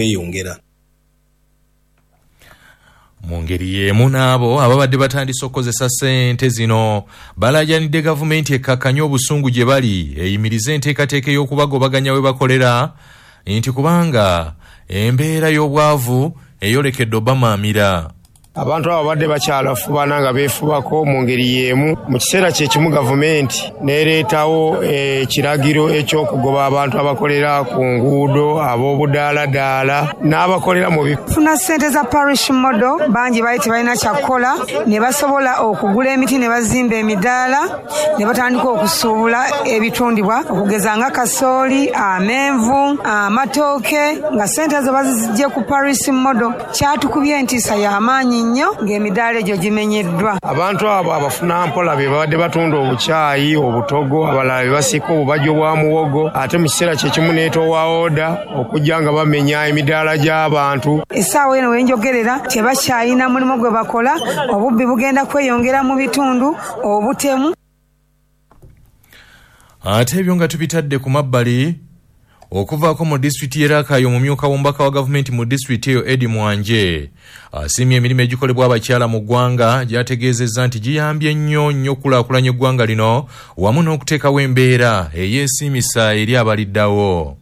kweyongera. Mu ngeri y'emu n'abo ababadde batandise okukozesa ssente zino balaajanidde gavumenti ekkakkanye obusungu gye bali, eyimirize enteekateeka ey'okubagobaganya we bakolera, nti kubanga embeera y'obwavu eyolekedde obamaamira. Abantu abo babadde bakyalafubana nga beefubako mu ngeri y'emu. Mu kiseera kye kimu gavumenti n'ereetawo ekiragiro eky'okugoba abantu abakolera ku nguudo, ab'obudaaladaala n'abakolera mu Funa ssente za parish model, bangi baali tebalina kyakukola ne basobola okugula emiti ne bazimba emidaala ne batandika okusuubula ebitundibwa okugeza nga kasooli, amenvu, amatooke, nga ssente ezo baziggye ku parish model. Kyatukubye entiisa y'amaanyi nnyo ng'emidaala egyo gimenyeddwa. Abantu abo abafuna mpola be babadde batunda obukyayi, obutogo, abalala be basiika obubajjo bwa muwogo, ate mu kiseera kye kimu n'etoowa oda okujja nga bamenya emidaala gy'abantu. Essaawa eno we njogerera tebakyalina mulimu gwe bakola, obubbi bugenda kweyongera mu bitundu, obutemu. Ate ebyo nga tubitadde ku mabbali, okuvaako mu disitulikiti y'e Rakai, omumyuka w'omubaka wa gavumenti mu disitulikiti eyo Eddie Mwanje asiimye emirimu egikolebwa abakyala mu ggwanga, gy'ategeezezza nti giyambye nnyo nnyo okulaakulanya eggwanga lino wamu n'okuteekawo embeera eyeesiimisa eri abaliddawo.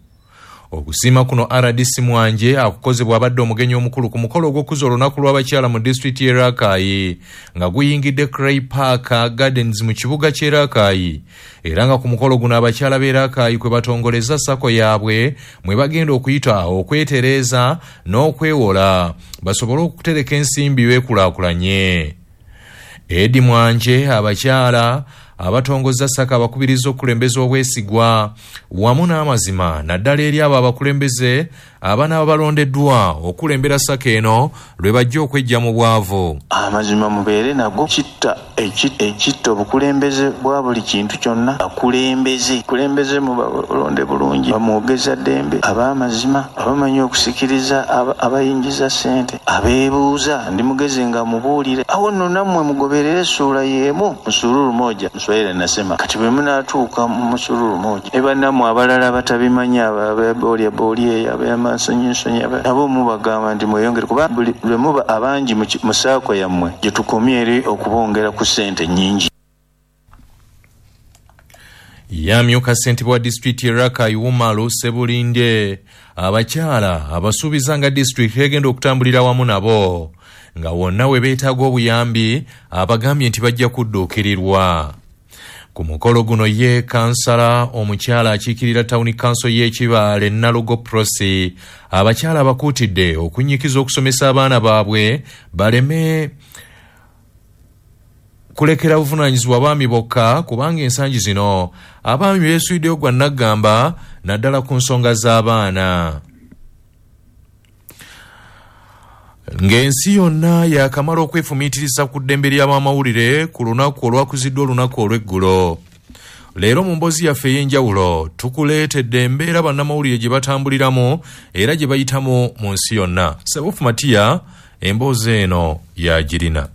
Okusiima kuno RDC Mwanje akukoze bw'abadde omugenyi omukulu ku mukolo ogw'okuza olunaku lw'abakyala mu disitulikiti y'e Rakai nga guyingidde Cray Park Gardens mu kibuga ky'e Rakai, era nga ku mukolo guno abakyala b'e Rakai kwe batongoleza SACCO yaabwe mwe bagenda okuyita okwetereeza n'okwewola basobole okutereka ensimbi beekulaakulanye. Eddie Mwanje abakyala abatongoza SACCO abakubiriza okukulembeza obwesigwa wamu n'amazima, naddala eri abo abakulembeze abanaaba balondeddwa okulembera SACCO eno lwe bajja okwejja mu bwavu. Amazima mubeere nago, kitta ekitta obukulembeze bwa buli kintu kyonna. Akulembeze mubalonde bulungi, bamwogeza ddembe, ab'amazima, abamanyi okusikiriza, abayingiza ssente, abeebuuza ndi mugezi nga mubuulire. Awo nno nammwe mugoberere essuula y'emu musululu moja, Mswahili nasema kati bwe munaatuuka mu musululu moja ne bannammwe abalala batabimanyi, ababoolyaboolya eyo, ab'amansonyinsonyi, nabo mubagamba nti mweyongere, kuba buli lwe muba abangi mu SACCO yammwe gye tukomye eri okubongera ku ssente nnyingi. Yamyuka ssentebe wa disitulikiti y'e Rakai Umaru Ssebulinde abakyala abasuubiza nga disitulikiti egenda okutambulira wamu nabo nga wonna we beetaaga obuyambi abagambye nti bajja kudduukirirwa. Ku mukolo guno ye kansala omukyala akiikirira tawuni kanso y'e Kibaale Nalugo Prosi abakyala abakuutidde okunnyikiza okusomesa abaana baabwe baleme kulekera buvunaanyizibwa baami bokka, kubanga ensangi zino abaami beesuuliddeyo gwa nnaggamba naddala ku nsonga z'abaana. Ng'ensi yonna yakamala okwefumiitiriza ku ddembe ly'abamawulire ku lunaku olwakuziddwa olunaku olw'eggulo, leero mu mboozi yaffe ey'enjawulo tukuleetedde embeera bannamawulire gye batambuliramu era gye bayitamu mu nsi yonna. Sebufu Matiya emboozi eno yagirina.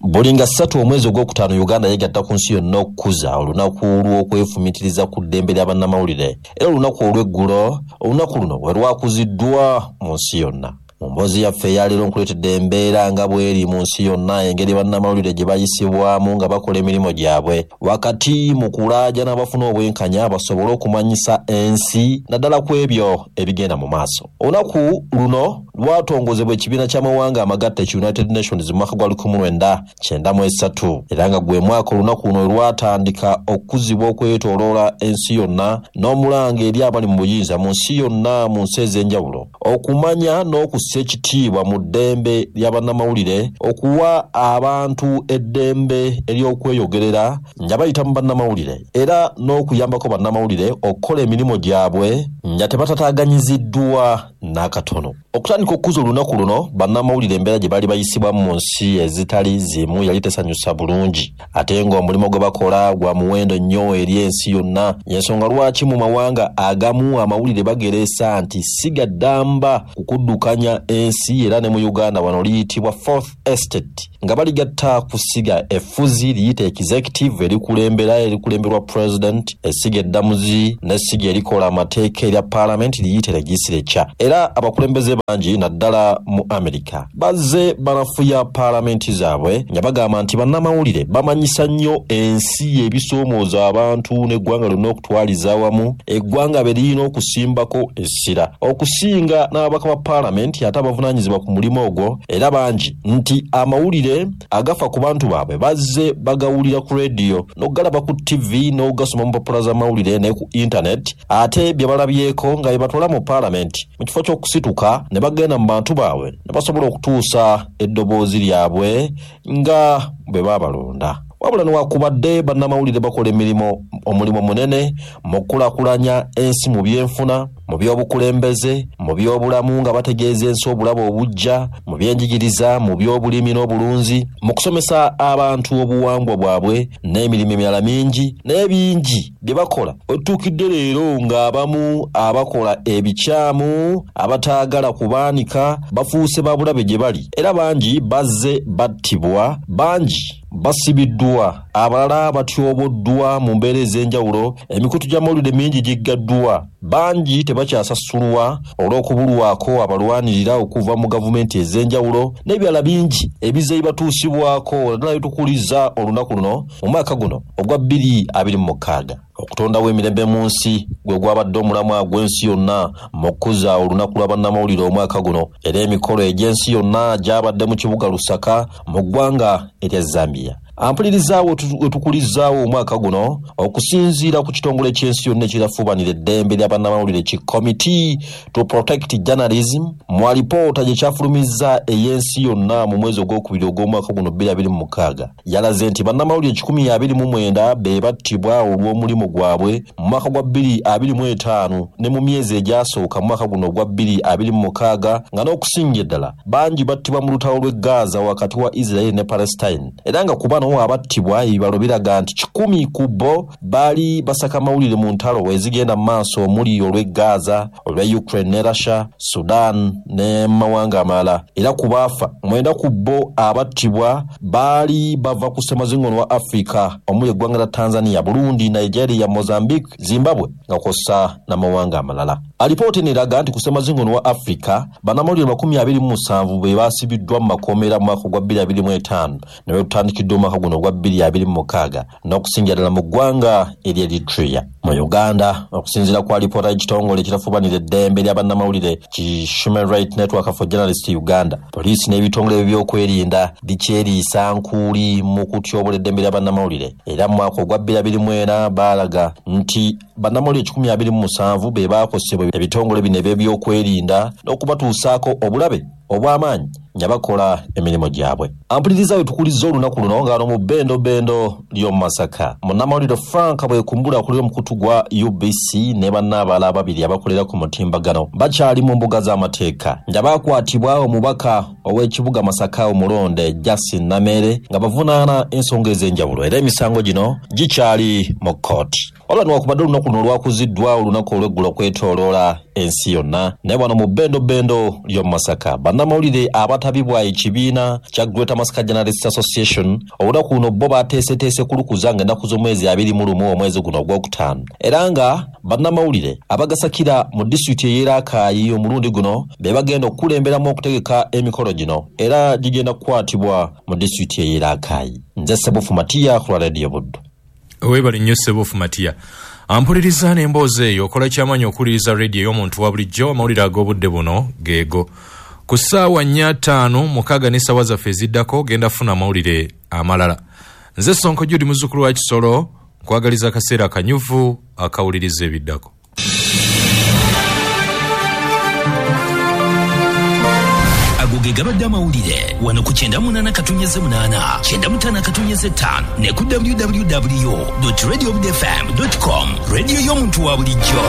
Buli nga 3 omwezi ogwokutaano Uganda yegatta ku nsi yonna okukuza olunaku lw'okwefumiitiriza ku ddembe lya bannamawulire, era olunaku olw'eggulo olunaku luno we lwakuziddwa mu nsi yonna. Mu mboozi yaffe eyaleero nkuleetedde embeera nga bw'eri mu nsi yonna, engeri bannamawulire gye bayisibwamu nga bakola emirimu gyabwe wakati mu kulaajana abafuna obwenkanya basobole okumanyisa ensi naddala ku ebyo ebigenda mu maaso. Olunaku luno lwatongozebwa ekibiina ky'amawanga amagatte ki United Nations mu mwaka gwa 1993, era nga gwe mwaka olunaku luno lwatandika okukuzibwa okwetooloola ensi yonna n'omulanga eri abali mu buyinza mu nsi yonna mu nsi ez'enjawulo okumanya n'okussa ekitiibwa mu ddembe lya bannamawulire, okuwa abantu eddembe ery'okweyogerera nga bayita mu bannamawulire, era n'okuyambako bannamawulire okukola emirimu gyabwe nga tebatataaganyiziddwa n'akatono. Okutandika okukuza olunaku luno, bannamawulire embeera gye baali bayisibwamu mu nsi ezitali zimu yali tesanyusa bulungi, ate ng'omulimu gwe bakola gwa muwendo nnyo eri ensi yonna. Y'ensonga lwaki mu mawanga agamu amawulire bagereesa nti si ga ddamba ku kuddukanya ensi, era ne mu Uganda wano liyitibwa Fourth Estate nga baligatta ku ssiga effuzi liyite executive erikulemberwa president, essiga eddamuzi n'essiga erikola amateeka erya parliament liyite legislature. Era Era abakulembeze bangi naddala mu Amerika bazze banafuya paalamenti zaabwe nga bagamba nti bannamawulire bamanyisa nnyo ensi ebisoomooza abantu n'eggwanga lyonna okutwaliza awamu, eggwanga be lirina okusimbako essira okusinga n'ababaka ba paalamenti ate abavunaanyizibwa ku mulimu ogwo. Era bangi nti amawulire agafa ku bantu baabwe bazze bagawulira ku rediyo n'okugalaba ku ttivi n'okugasoma mu mpapula z'amawulire ne ku intaneti, ate bye balabyeko nga bye batwala mu paalamenti mu kifo ky'okusituka ne bagenda mu bantu baabwe ne basobola okutuusa eddoboozi lyabwe nga bwe baabalonda. Wabula newakubadde bannamawulire bakola emirimu omulimu munene mu kukulaakulanya ensi mu byenfuna, mu by'obukulembeze, mu by'obulamu nga bategeeza ensi obulabe obujja, mu byenjigiriza, mu by'obulimi n'obulunzi, mu kusomesa abantu obuwangwa bwabwe n'emirimu emirala mingi, naye bingi bye bakola otuukidde leero ng'abamu abakola ebikyamu abataagala kubaanika bafuuse ba bulabe gye bali. Era bangi bazze battibwa, bangi basibiddwa, abalala batyoboddwa mu mbeera ez'enjawulo, emikutu gy'amawulire mingi giggaddwa, bangi tebakyasasulwa olw'okubulwako abalwanirira okuva mu gavumenti ez'enjawulo n'ebirala bingi ebizze bibatuusibwako naddala bitukuliza olunaku luno mu mwaka guno ogwa 2026. Okutondawo emirembe mu nsi gwe gwabadde omulamwa gw'ensi yonna mu kukuza olunaku lwa bannamawulire omwaka guno, era emikolo egy'ensi yonna gyabadde mu kibuga Lusaka mu ggwanga erya Zambia. Ampulirizaawo wetukulizaawo omwaka guno okusinziira ku kitongole ky'ensi yonna ekirafuubanira eddembe lya bannamawulire ki Committee to Protect Journalism mu alipoota gye kyafulumizza ey'ensi yonna mu mwezi ogwokubiri ogw'omwaka guno 2026, yalaze nti bannamawulire 129 be battibwa olw'omulimu gwabwe mu mwaka gwa 2025 ne mu myezi egyasooka mu mwaka guno ogwa 2026, nga n'okusinga eddala bangi battibwa mu lutalo lw'e Gaza wakati wa Israel ne Palestine. Era nga ku bano abattibwa ebibalo biraga nti 100 ku bo baali basaka mawulire mu ntalo ezigenda mu maaso omuli olw'e Gaza, olw'e Ukraine ne Russia, Sudan ne mawanga amalala. Era ku baafa 9 ku bo abattibwa baali bava ku ssemazingono wa Afrika omuli eggwanga lya Tanzania, Burundi, Nigeria, Mozambique, Zimbabwe nga kw'ossa n'amawanga amalala. Alipoota eno eraga nti ku ssemazingono wa Afrika bannamawulire 27 be baasibiddwa mu makomera mu mwaka gwa 2025 ne bwe tutandikidde omwaka guno ogwa 2026 n'okusingira ddala mu ggwanga erya Eritrea. Mu Uganda, okusinziira ku alipoota y'ekitongole ekirafuubanira eddembe lya bannamawulire ki Human Rights Network for Journalists Uganda, poliisi n'ebitongole by'ebyokwerinda bikyeriisa nkuuli mu kutyobola eddembe lya bannamawulire. Era mu mwaka ogwa 2024 baalaga nti bannamawulire 127 be baakosebwa ebitongole bino eby'ebyokwerinda n'okubatuusaako obulabe obw'amaanyi nga bakola emirimu gyabwe. Ampuliriza we tukulizza olunaku luno nga wano mu bbendobendo ly'omu Masaka, munnamawulire Frank Bwekumbula akulira omukutu gwa UBC ne banne abalala ababiri abakolera ku mutimbagano bakyali mu mbuga z'amateeka nga baakwatibwa omubaka ow'ekibuga Masaka omulonde Justin Nameere nga bavunaana ensonga ez'enjawulo, era emisango gino gikyali mu kkooti. Wabula newankubadde olunaku luno lwakuziddwa olunaku olw'eggulo okwetooloola ensi yonna, naye wano mu bbendobendo ly'omu Masaka bannamawulire abatabibwa ekibiina kya Greater Masaka Journalists Association olunaku luno bo bateeseteese kulukuza ng'ennaku z'omwezi 21 omwezi guno ogwokutaano, era nga bannamawulire abagasakira mu disitulikiti ey'e Rakai omulundi guno be bagenda okukulemberamu okutegeka emikolo gino, era gigenda kukwatibwa mu disitulikiti ey'e Rakai. Nze Ssebufu Matiya ku lwa Radio Buddu. Weebale nnyo Ssebufu Matiya. Ampuliriza n'emboozi eyo okola kyamaanyi okuwuliriza rediyo ey'omuntu wa bulijjo. Amawulire ag'obudde buno geego ku ssaawa 4:56 n'essaawa zaffe eziddako genda funa amawulire amalala. Nze Sonko Jude muzzukulu wa Kisolo, nkwagaliza akaseera akanyuvu akawuliriza ebiddako. Ago ge gabadde amawulire wano ku 98.8, 95.5 ne ku www.radiobudfm.com. Radio y'omuntu wa bulijjo.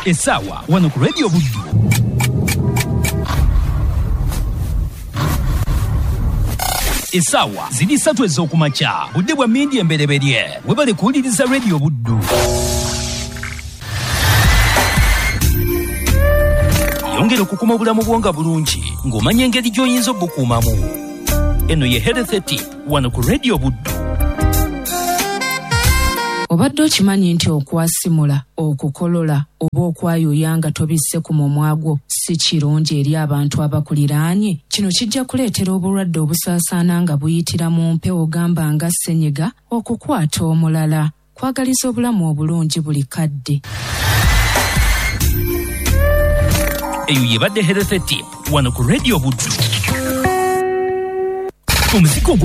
Essaawa wano ku Radio Buddu. Essaawa ziri 3 ez'okumakya, budde bwa mmindi embereberye. Webale kuwuliriza Radio Buddu. Yongera okukuma obulamu bwo nga bulungi ng'omanya engeri gy'oyinza obukuumamu. Eno ye Health Tip wano ku Radio Buddu. Obadde okimanyi nti okwasimula, okukolola oba okwayuuya nga tobisse ku mumwa gwo si kirungi eri abantu abakuliraanye? Kino kijja kuleetera obulwadde obusaasaana nga buyitira mu mpewo, gamba nga ssenyiga, okukwata omulala. Kwagaliza obulamu obulungi buli kadde. Eyo yebadde Health Tip wano ku Radio Buddu. Omuziki ogwo.